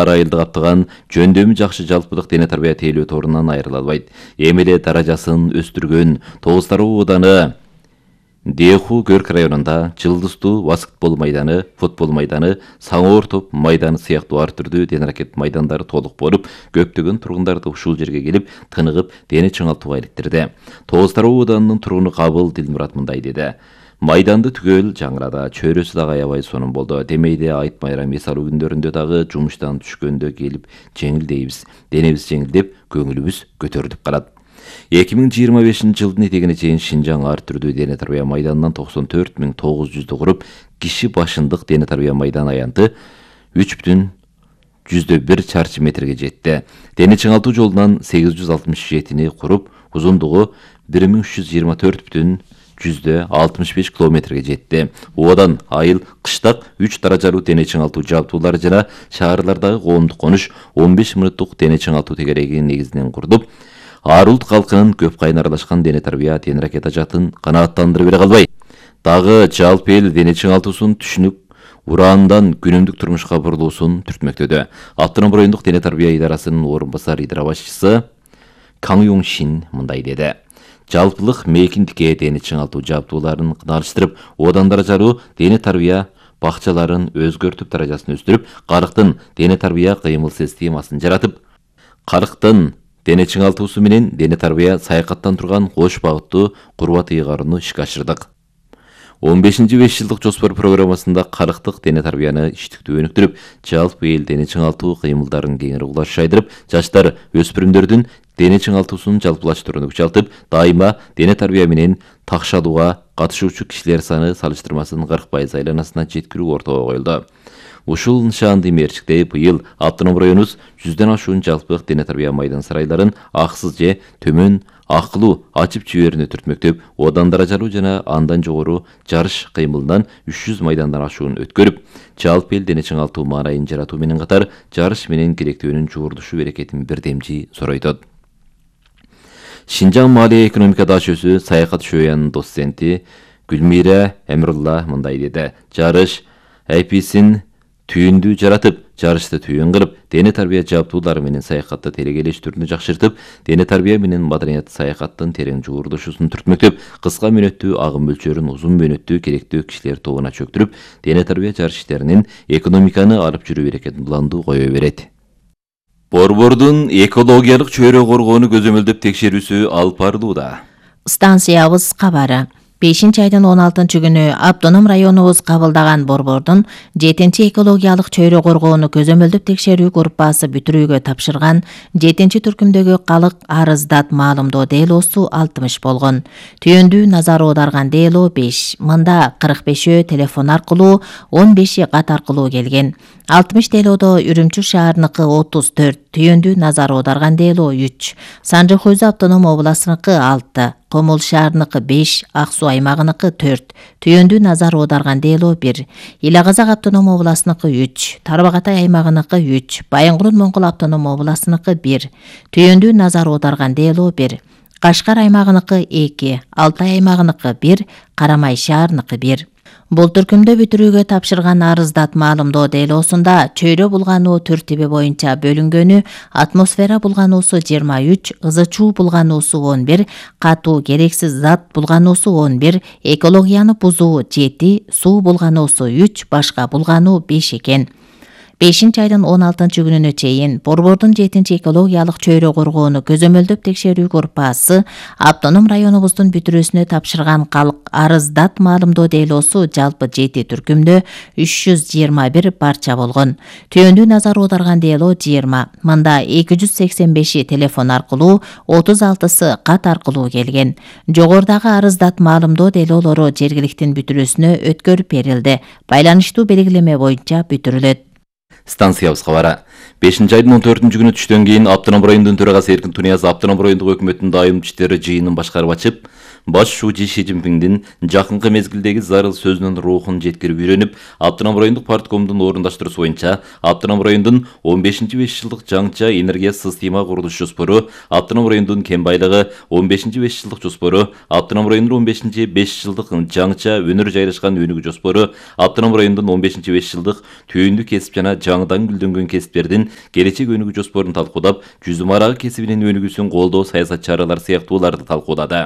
айылды каптаган жөндөмү жакшы жалпылык дене тарбия тейлөө торунан айрыла албайт. Эми эле даражасын өстүргөн Тогуз Тароо ооданы Деху Көрк районунда Жылдыздуу баскетбол майданы, футбол майданы, Саңоор топ майданы сыяктуу ар түрдүү дене аракет майдандары толук болуп, көптөгөн тургундарды ушул жерге келип, тыныгып, дене чыңалтууга иликтирди. Тогуз Тароо ооданынын тургуну Кабыл Дилмурат мындай деди. Майданды түгөл жаңырада, чөйрөсү дагы аябай сонун болду. Демейде айт байрам эсалуу күндөрүндө дагы жумуштан түшкөндө келип жеңилдейбиз. Денебиз жеңилдеп, көңүлүбүз көтөрүлүп калат. 2025-жылдын этегине чейин Шинжаң ар түрдүү дене тарбия майданынан 94.900 куруп, киши башындык дене тарбия майдан аянты 3,1 чарчы метрге жетти. Дене чыңалтуу жолунан 867-ни куруп, узундугу 1324,65 километрге жетти. Оодан айыл, кыштак 3 даражалуу дене чыңалтуу жабдуулары жана шаарлардагы коомдук конуш 15 мүнөттүк дене чыңалтуу тегереги негизинен курдуп, ар улут калкынын көп кайын аралашкан дене тарбия тең аракет ажатын канааттандырып бере калбай, дагы жалпы эл дене чыңалтуусун түшүнүп, ураандан күнүмдүк турмушка бурулуусун түртмөктөдө. Автоном райондук дене тарбия идарасынын орун басар идара башчысы Каң Юң Шин мындай деди. Жалпылык мейкиндикке дене чыңалтуу жабдууларын кыналыштырып, одан даражалуу дене тарбия бакчаларын өзгөртүп, даражасын өстүрүп, карыктын дене тарбия кыймыл системасын жаратып, карыктын дене чыңалтуусу менен дене тарбия саякаттан турган кош багыттуу курбат ыйгарууну ишке ашырдык. 15-5 жылдык жоспор программасында карыктык дене тарбияны иштиктүү өнүктүрүп, жалпы эл дене чыңалтуу кыймылдарын кеңири улаш шайдырып, жаштар, өспүрүмдөрдүн дене чыңалтуусун жалпылаштырууну күчалтып, дайыма дене тарбия менен такшалууга катышуучу кишилер саны салыштырмасын 40% айланасына жеткирүү ортого коюлду. Ушул нышаанды мерчиктей быйыл автоном районубуз 100дөн ашуун жалпылык дене тарбия майдан сарайларын аксыз же төмөн акылуу ачып жиберүүнү түртмөктөп, одан даражалуу жана андан жогору жарыш кыймылынан 300 майдандан ашуун өткөрүп, жалпы эл дене чыңалтуу маанайын жаратуу менен катар, жарыш менен керектөөнүн жуурдушу берекетин бирдемчи соройтот. Шинжаң Маалия экономика дашөсү саякат шөянын доценти Гүлмира Эмирулла мындай деди. Жарыш айписин түйүндү жаратып, жарышты түйүн кылып, дене тарбия жабдуулары менен саякатты телегелештирүүнү жакшыртып, дене тарбия менен маданият саякаттын терең жуурдушусун түртмөктөп, кыска мөөнөттүү агым мөлчөрүн узун мөөнөттүү керектүү кишилер тобуна чөктүрүп, дене тарбия жарыш иштеринин экономиканы алып жүрүү берекетин буландуу кое берет. Борбордун экологиялык чөйрө коргоону көзөмөлдөп текшерүүсү алып барылууда. Станциябыз кабары. 5-айдын 16-күнү автоном районубуз кабылдаган борбордун 7-экологиялык чөйрө коргоону көзөмөлдөп текшерүү группасы бүтүрүүгө тапшырган 7-түркүмдөгү калык арыздат маалымдоо делоосу 60 болгон. Түйүндүү назар аударган дело 5. Мында 45-өө телефон аркылуу, 15-и кат аркылуу келген. 60 делодо Үрүмчү шаарыныкы 34, түйүндүү назар аударган дело 3, Санжы Хойзу автоном областыныкы 6, Комул шаарыныкы 5, Ак Суу аймагыныкы 4, түйүндүү назар аударган дело 1, Ила Казак автоном областыныкы 3, Тарбагатай аймагыныкы 3, Байынгурун Моңгол автоном областыныкы 1, түйүндүү назар аударган дело 1, Кашкар аймагыныкы 2, Алтай аймагыныкы 1, Карамай шаарыныкы 1. Бул түркүмдө бүтүрүүгө тапшырган арыздат маалымдоо делоосунда чөйрө булгануу тиби боюнча бөлүнгөнү: атмосфера булгануусу 23, ызы чуу булгануусу 11, катуу керексиз зат булгануусу 11, экологияны бузуу 7, суу булгануусу 3, башка булгануу 5 экен. 5-айдын 16-күнүнө чейин борбордун 7-экологиялык чөйрө коргоону көзөмөлдөп текшерүү группасы автоном районубуздун бүтүрүүсүнө тапшырган калык арыздат маалымдоо делоосу жалпы 7 түркүмдө 321 парча болгон. Түйүндүү назар аударган дело 20. Мында 285 телефон аркылуу, 36-сы кат аркылуу келген. Жогорудагы арыздат маалымдоо делоолору жергиликтин бүтүрүүсүнө өткөрүп берилди. Байланыштуу белгилеме боюнча бүтүрүлөт. Станциябыз кабары. 5-айдын 14-күнү түштөн кийин автоном райондун төрагасы Эркин Туниязов автоном райондук өкмөттүн дайым иштери жыйынын башкарып ачып, Баш шүүчү Ши Цзиньпиндин жакынкы мезгилдеги зарыл сөзүнүн рухун жеткирип үйрөнүп, Автоном райондук парткомдун орундаштыруусу боюнча Автоном райондун 15-5 жылдык жаңча энергия система курулуш жоспору, Автоном райондун кен байлыгы 15-5 жылдык жоспору, Автоном райондун 15-5 жылдык жаңча өнөр жайлашкан өнүгүү жоспору, Автоном райондун 15-5 жылдык түйүндү кесип жана жаңыдан гүлдөнгөн кесиптердин келечек өнүгүү жоспорун талкуудап, жүзүм арагы кесибинин өнүгүүсүн колдоо саясат чаралары сыяктууларды талкуулады.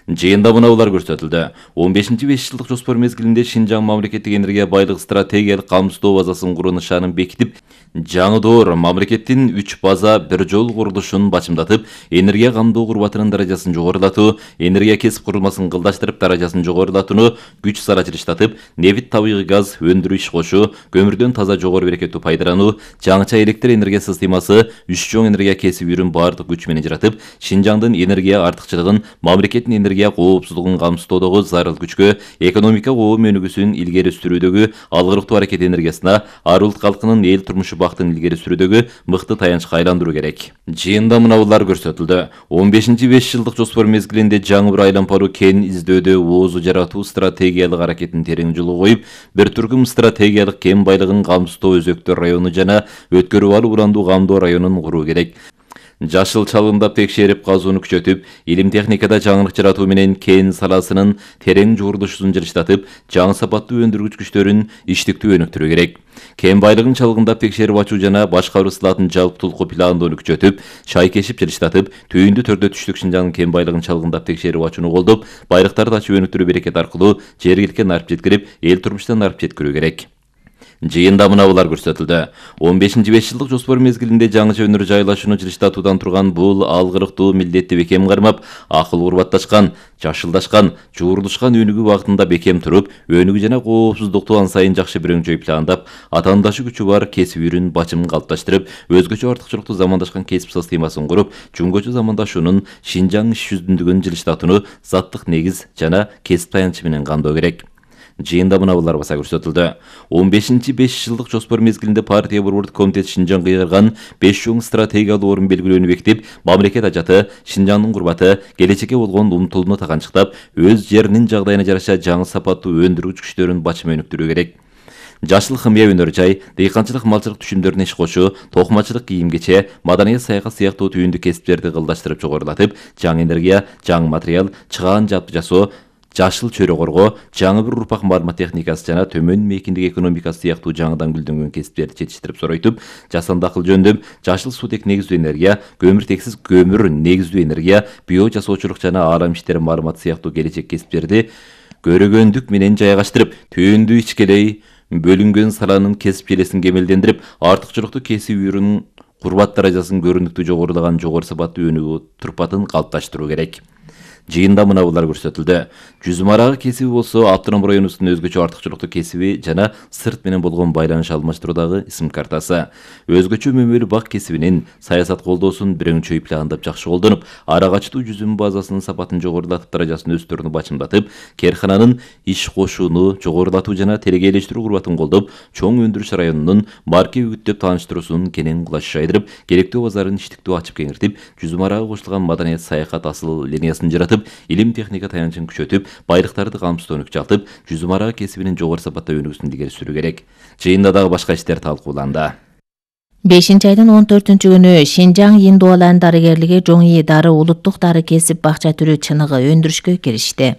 Жыйында мынаулар көрсөтүлдү. 15-5 жылдык жоспор мезгилинде Шинжаң мамлекеттик энергия байлык стратегиялык камсыздоо базасын куруу нышанын бекитип, жаңы мамлекеттин 3 база бир жол курулушун бачымдатып, энергия камдоо курбатынын даражасын жогорулатуу, энергия кесип курулмасын кылдаштырып даражасын жогорулатууну күч сарачылыштатып, нефть табигый газ өндүрүү иш кошуу, көмүрдөн таза жогору берекеттүү пайдалануу, жаңыча электр энергия системасы, 3 чоң энергия кесиби баардык күч менен жаратып, Шинжаңдын энергия артыкчылыгын, мамлекеттин энергия коопсуздугун камсыздоодогу зарыл күчкө, экономика коом өнүгүүсүн илгери сүрүүдөгү алгырыктуу аракет энергиясына, ар улут калкынын эл турмушу бактын илгери сүрүүдөгү мыкты таянычка айландыруу керек. Жыйында мынаулар көрсөтүлдү. 15-5 жылдык жоспор мезгилинде жаңы бир айланпаруу кен издөөдө оозу жаратуу стратегиялык аракетин терең жолго коюп, бир түркүм стратегиялык кен байлыгын камсыздоо өзөктөр району жана өткөрүп алуу урандуу камдоо районун куруу керек. Жашыл чалгындап текшерип казууну күчөтүп, илим техникада жаңылык жаратуу менен кен саласынын терең жуурулушун жылыштатып, жаңы сапаттуу өндүргүч күчтөрүн иштиктүү өнүктүрүү керек. Кен байлыгын чалгындап текшерип ачуу жана башкаруу сылатын жалптуулуку пландоону күчөтүп, шай кешип жылыштатып, түйүндү төрдө түштүк Шинжаңдын кен байлыгын чалгындап текшерип ачууну колдоп, байлыктарды ачып өнүктүрүү берекет аркылуу жергиликке нарып жеткирип, эл турмушуна нарып жеткирүү керек. Жыйында мынаулар көрсөтүлдү. 15-5 жылдык жоспор мезгилинде жаңыча өнөр жайлашууну жылыштатуудан турган бул алгырыктуу милдетти бекем кармап, акыл курбатташкан, жашылдашкан, жуурулушкан өнүгүү багытында бекем туруп, өнүгүү жана коопсуздукту ан сайын жакшы бирөңчөй пландап, атаандашы күчү бар кесип үйрүн бачымын калыпташтырып, өзгөчө артыкчылыктуу замандашкан кесип системасын куруп, чүңгөчө замандашуунун Шинжаң иш жүзүндүгүн жылыштатууну заттык негиз жана кесип таянычы менен камдоо керек. Жыйында мынаулар баса көрсөтүлдү. 15-5 жылдык жоспор мезгилинде партия борбордук комитет Шинжаңга кыйгарган 5 чоң стратегиялык орун белгилөөнү бекитип, мамлекет ажаты, Шинжаңдын курбаты, келечекке болгон умтулууну таганчыктап, өз жеринин жагдайына жараша жаңы сапаттуу өндүргүч күчтөрүн бачым өнүктүрүү керек. Жашыл химия өнөр жай, дыйканчылык малчылык түшүмдөрүнө иш кошуу, токмачылык кийим-кече, маданият саякат сыяктуу түйүндү кесиптерди кылдаштырып жогорулатып, жаңы энергия, жаңы материал, чыгаан жапты жасоо, жашыл чөйрө коргоо, жаңы бир урпак маалымат техникасы жана төмөн мейкиндик экономикасы сыяктуу жаңыдан гүлдөнгөн кесиптерди жетиштирип соройтуп, жасанды акыл жөндөм, жашыл суутек негиздүү энергия, көмүртексиз көмүр негиздүү энергия, био жасоочулук жана аалам иштери маалыматы сыяктуу келечек кесиптерди көрөгөндүк менен жайгаштырып, түйүндү ичкелей бөлүнгөн саланын кесип желесин кемелдендирип, артыкчылыктуу кесип үйрүнүн курбат даражасын көрүнүктүү жогорулаган жогору сапаттуу өнүгүү турпатын калыпташтыруу керек. Жыйында мынаулар көрсөтүлдү. Жүзүм арагы кесиби болсо Автоном районубуздун өзгөчө артыкчылыктуу кесиби жана сырт менен болгон байланыш алмаштыруудагы исим картасы. Өзгөчө мөмөлүү бак кесибинин саясат колдоосун бирөңчөй пландап жакшы колдонуп, ара качтуу жүзүм базасынын сапатын жогорулатып, даражасын өстөрүнү бачымдатып, кээркананын иш кошууну жогорулатуу жана телегейлештирүү курбатын колдоп, чоң өндүрүш районунун марке үгүттөп тааныштыруусун кенен кулаш жайдырып, керектүү базарын иштиктүү ачып кеңиртип, жүзүм арагы кошулган маданият саякат асыл линиясын жаратып, илим техника таянычын күчөтүп, байлыктарды камсыздоону күчалтып, жүзүм арагы кесибинин жогору сапатта өнүгүүсүн илгери сүрүү керек. Жыйында дагы башка иштер талкууланды. 5-айдын 14-күнү Шинжаң Индуалан дарыгерлиги Жоңи дары улуттук дары кесип бакча түрү чыныгы өндүрүшкө киришти.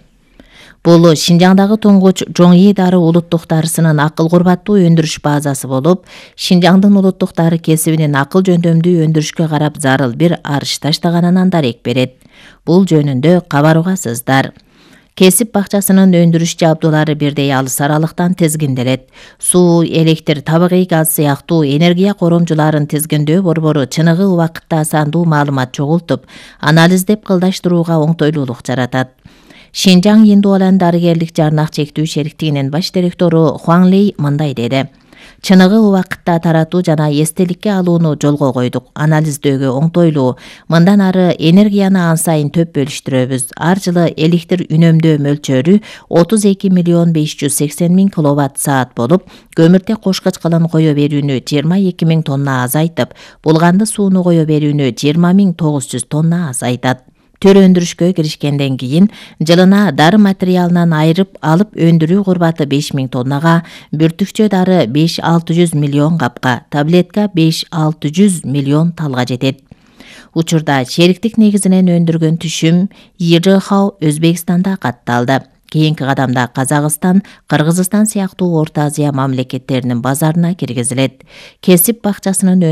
Бул Шинжаңдагы туңгуч Жоңи дары улуттук дарысынын акыл курбаттуу өндүрүш базасы болуп, Шинжаңдын улуттук дары кесибинин акыл жөндөмдүү өндүрүшкө карап зарыл бир арыш таштаганынан дарек берет. Бул жөнүндө кабаругасыздар. Кесип бакчасынын өндүрүш жабдуулары бирдей алыс аралыктан тизгинделет. Суу, электр, табигый газ сыяктуу энергия коромжуларын тизгиндөө борбору чыныгы убакытта асандуу маалымат чогултуп, анализдеп кылдаштырууга оңтойлуулук жаратат. Шинжаң Индуалан дарыгерлик жарнак чектүү шериктигинин баш директору Хуан Лей мындай деди. Чыныгы убакытта таратуу жана эстеликке алууну жолго койдук. Анализдөөгө оңтойлуу. Мындан ары энергияны ан сайын төп бөлүштүрөбүз. Ар жылы электр үнөмдөө мөлчөрү 32.580.000 киловатт-саат болуп, көмүртек кошкоч кылын кое берүүнү 22.000 тонна азайтып, булганды сууну кое берүүнү 20.900 тонна азайтат. төр өндүрүшкө киришкенден кийин жылына дары материалынан айырып алып өндүрүү курбаты 5000 тоннага, бүртүкчө дары 5-600 миллион капка, таблетка 5-600 миллион талга жетет. Учурда шериктик негизинен өндүргөн түшүм ИРХ Өзбекстанда катталды. Кийинки кадамда Казакстан, Кыргызстан сыяктуу Орто Азия мамлекеттеринин базарына киргизилет. Кесип бакчасынын